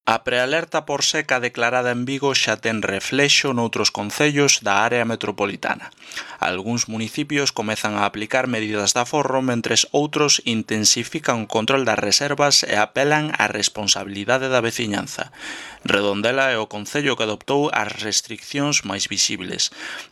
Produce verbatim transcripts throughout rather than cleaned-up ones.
A prealerta por seca declarada en Vigo xa ten reflexo noutros concellos da área metropolitana. Algúns municipios comezan a aplicar medidas de aforro, mentres outros intensifican o control das reservas e apelan á responsabilidade da veciñanza. Redondela é o concello que adoptou as restriccións máis visibles.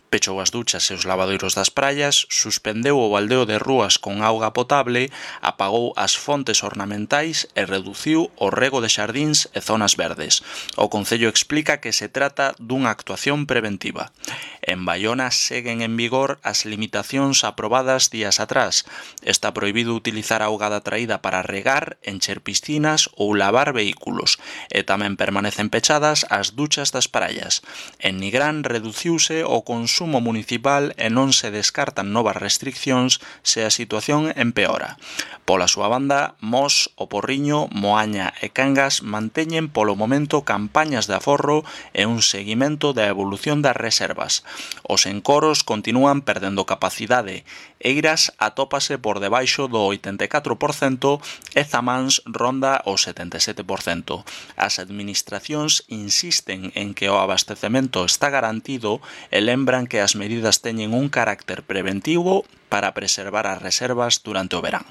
Pechou as duchas e os lavadoiros das praias, suspendeu o baldeo de rúas con auga potable, apagou as fontes ornamentais e reduciu o rego de xardíns e zonas verdes. O concello explica que se trata dunha actuación preventiva. En Baiona seguen en vigor as limitacións aprobadas días atrás. Está prohibido utilizar auga da traída para regar, encher piscinas ou lavar vehículos, e tamén permanecen pechadas as duchas das praias. En Nigrán reduciuse o consumo municipal e non se descartan novas restriccións se a situación empeora. Pola súa banda, Mos, O Porriño, Moaña e Cangas manteñen polo momento campañas de aforro e un seguimento da evolución das reservas. Os encoros continúan perdendo capacidade. Eiras atópase por debaixo do oitenta e catro por cento e Zamáns ronda o setenta e sete por cento. As administracións insisten en que o abastecemento está garantido e lembran que as medidas teñen un carácter preventivo para preservar as reservas durante o verán.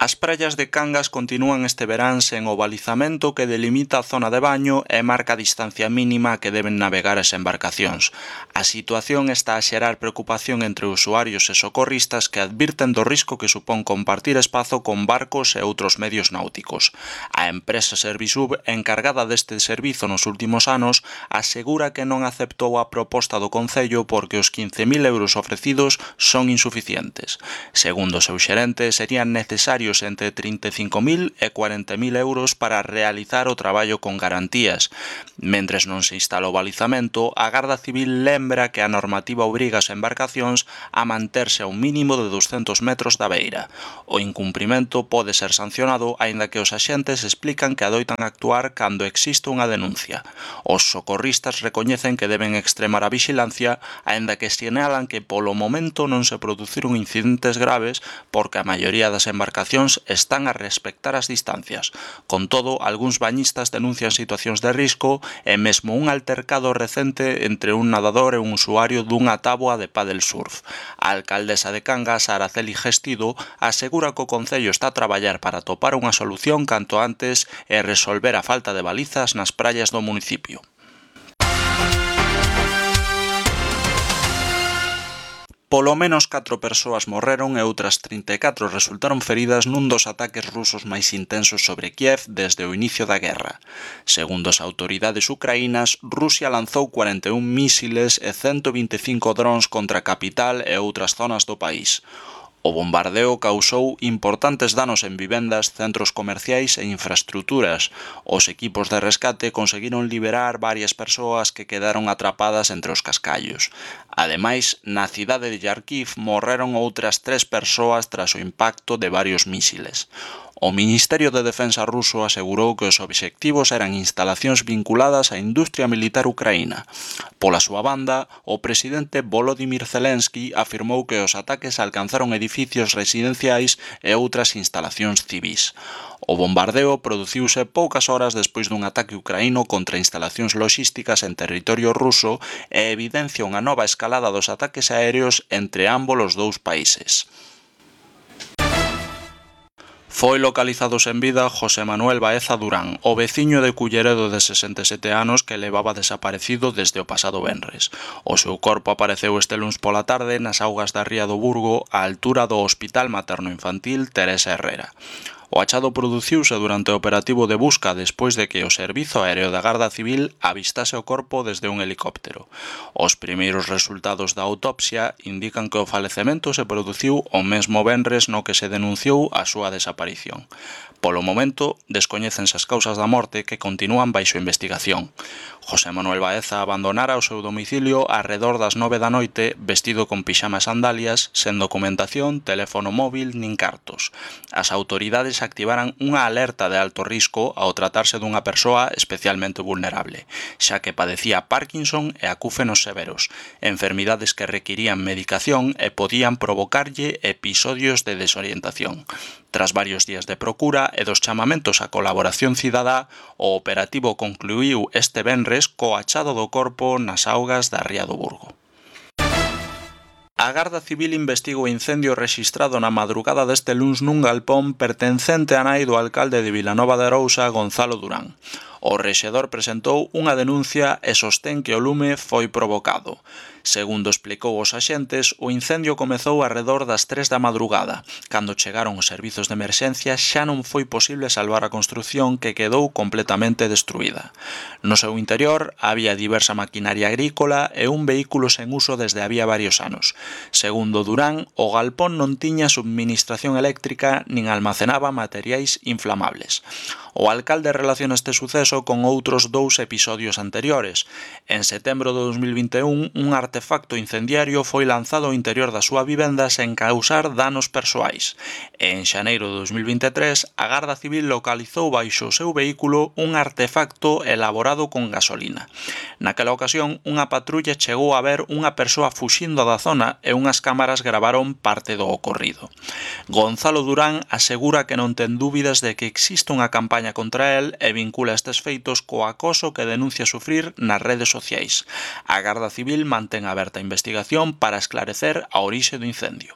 As praias de Cangas continúan este verán sen o balizamento que delimita a zona de baño e marca a distancia mínima que deben navegar as embarcacións. A situación está a xerar preocupación entre usuarios e socorristas que advirten do risco que supón compartir espazo con barcos e outros medios náuticos. A empresa Servisub, encargada deste servizo nos últimos anos, asegura que non aceptou a proposta do Concello porque os quince mil euros ofrecidos son insuficientes. Segundo o seu xerente, serían necesarios entre trinta e cinco mil e cuarenta mil euros para realizar o traballo con garantías. Mentres non se instala o balizamento, a Garda Civil lembra que a normativa obriga as embarcacións a manterse a un mínimo de douscentos metros da beira. O incumprimento pode ser sancionado, aínda que os axentes explican que adoitan actuar cando existe unha denuncia. Os socorristas recoñecen que deben extremar a vixilancia, aínda que sinalan que polo momento non se produciron incidentes graves porque a maioría das embarcacións están a respectar as distancias. Con todo, algúns bañistas denuncian situacións de risco e mesmo un altercado recente entre un nadador e un usuario dunha táboa de pádel surf. A alcaldesa de Cangas, Araceli Gestido, asegura que o Concello está a traballar para atopar unha solución canto antes e resolver a falta de balizas nas praias do municipio. Polo menos catro persoas morreron e outras trinta e catro resultaron feridas nun dos ataques rusos máis intensos sobre Kiev desde o inicio da guerra. Segundo as autoridades ucraínas, Rusia lanzou cuarenta e un mísiles e ciento vinte e cinco drons contra a capital e outras zonas do país. O bombardeo causou importantes danos en vivendas, centros comerciais e infraestruturas. Os equipos de rescate conseguiron liberar varias persoas que quedaron atrapadas entre os cascallos. Ademais, na cidade de Kharkiv morreron outras tres persoas tras o impacto de varios mísiles. O Ministerio de Defensa ruso asegurou que os obxectivos eran instalacións vinculadas á industria militar ucraína. Pola súa banda, o presidente Volodymyr Zelensky afirmou que os ataques alcanzaron edificios residenciais e outras instalacións civís. O bombardeo produciuse poucas horas despois dun ataque ucraíno contra instalacións loxísticas en territorio ruso e evidencia unha nova escalada dos ataques aéreos entre ambos os dous países. Foi localizado sen vida José Manuel Baeza Durán, o veciño de Culleredo de sesenta e sete anos que levaba desaparecido desde o pasado venres. O seu corpo apareceu este luns pola tarde nas augas da ría do Burgo, á altura do Hospital Materno-Infantil Teresa Herrera. O achado produciuse durante o operativo de busca despois de que o Servizo Aéreo da Garda Civil avistase o corpo desde un helicóptero. Os primeiros resultados da autopsia indican que o falecemento se produciu o mesmo venres no que se denunciou a súa desaparición. Polo momento, descoñécense as causas da morte que continúan baixo investigación. José Manuel Baeza abandonara o seu domicilio arredor das nove da noite vestido con pixama e sandalias, sen documentación, teléfono móvil nin cartos. As autoridades autoridades activaran unha alerta de alto risco ao tratarse dunha persoa especialmente vulnerable, xa que padecía Parkinson e acúfenos severos, enfermidades que requirían medicación e podían provocarlle episodios de desorientación. Tras varios días de procura e dos chamamentos á colaboración cidadá, o operativo concluíu este venres co achado do corpo nas augas da Ría do Burgo. A Garda Civil investiga o incendio rexistrado na madrugada deste luns nun galpón pertencente á nai do alcalde de Vilanova de Arousa, Gonzalo Durán. O rexedor presentou unha denuncia e sostén que o lume foi provocado. Segundo explicou os axentes, o incendio comezou arredor das tres da madrugada. Cando chegaron os servizos de emerxencia xa non foi posible salvar a construción que quedou completamente destruída. No seu interior había diversa maquinaria agrícola e un vehículo sen uso desde había varios anos. Segundo Durán, o galpón non tiña subministración eléctrica nin almacenaba materiais inflamables. O alcalde relaciona este suceso con outros dous episodios anteriores. En setembro de dos mil vinte e un, un artefacto incendiario foi lanzado ao interior da súa vivenda sen causar danos persoais. E en xaneiro de dos mil vinte e tres, a Garda Civil localizou baixo o seu vehículo un artefacto elaborado con gasolina. Naquela ocasión, unha patrulla chegou a ver unha persoa fuxindo da zona e unhas cámaras gravaron parte do ocorrido. Gonzalo Durán asegura que non ten dúbidas de que existe unha campaña contra el e vincula estes feitos co acoso que denuncia sufrir nas redes sociais. A Garda Civil mantén aberta a investigación para esclarecer a orixe do incendio.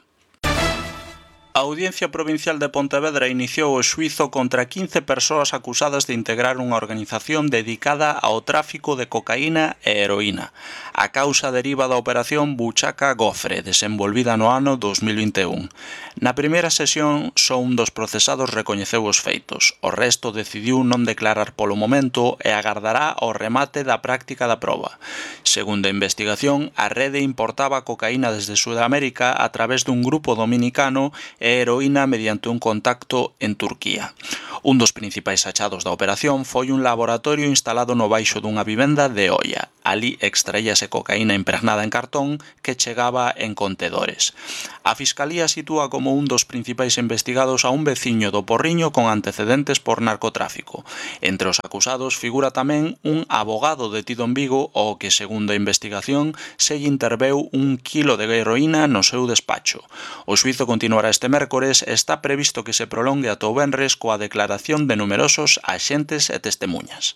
A Audiencia Provincial de Pontevedra iniciou o xuízo contra quince persoas acusadas de integrar unha organización dedicada ao tráfico de cocaína e heroína. A causa deriva da operación Buchaca Gofre, desenvolvida no ano dos mil vinte e un. Na primeira sesión, só un dos procesados recoñeceu os feitos. O resto decidiu non declarar polo momento e agardará ao remate da práctica da proba. Segundo a investigación, a rede importaba cocaína desde Sudamérica a través dun grupo dominicano e heroína mediante un contacto en Turquía. Un dos principais achados da operación foi un laboratorio instalado no baixo dunha vivenda de Oia. Ali extraíase cocaína impregnada en cartón que chegaba en contedores. A Fiscalía sitúa como un dos principais investigados a un veciño do Porriño con antecedentes por narcotráfico. Entre os acusados figura tamén un abogado detido en Vigo ao que, segundo a investigación, se lle interveu un quilo de heroína no seu despacho. O xuízo continuará este mércores e está previsto que se prolongue ata o venres coa declaración de numerosos axentes e testemuñas.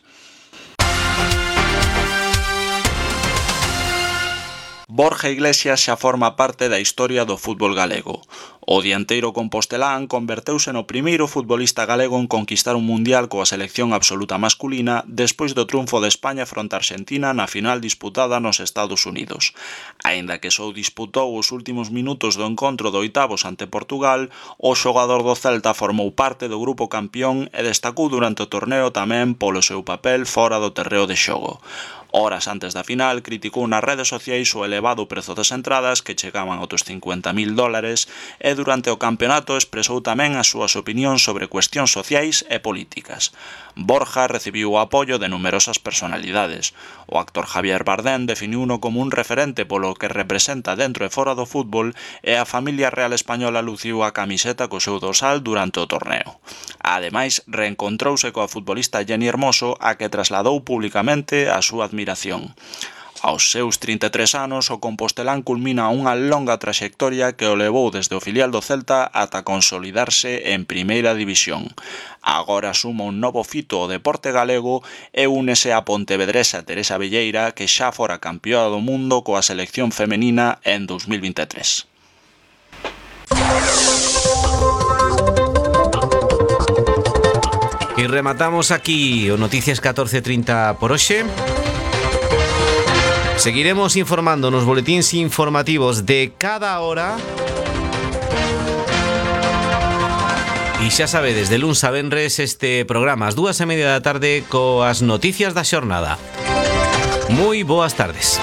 Borja Iglesias xa forma parte da historia do fútbol galego. O dianteiro compostelán converteuse no primeiro futbolista galego en conquistar un mundial coa selección absoluta masculina despois do triunfo de España fronte a Argentina na final disputada nos Estados Unidos. Aínda que só disputou os últimos minutos do encontro de oitavos ante Portugal, o xogador do Celta formou parte do grupo campeón e destacou durante o torneo tamén polo seu papel fora do terreo de xogo. Horas antes da final, criticou nas redes sociais o elevado prezo das entradas que chegaban aos cincuenta mil dólares e durante o campeonato expresou tamén as súas opinións sobre cuestións sociais e políticas. Borja recibiu o apoio de numerosas personalidades. O actor Javier Bardem definiuno como un referente polo que representa dentro e fora do fútbol e a familia real española luciu a camiseta co seu dorsal durante o torneo. Ademais, reencontrouse coa futbolista Jenny Hermoso, a que trasladou publicamente a súa admiración. Aos seus trinta e tres anos, o compostelán culmina unha longa traxectoria que o levou desde o filial do Celta ata consolidarse en Primeira División. Agora suma un novo fito ao deporte galego e únese a pontevedresa Teresa Velleira, que xa fora campeona do mundo coa selección femenina en dos mil vinte e tres. E rematamos aquí o Noticias catorce trinta por hoxe. Seguiremos informando nos boletíns informativos de cada hora. E xa sabedes, de luns a venres este programa ás dúas e media da tarde coas noticias da xornada. Moi boas tardes.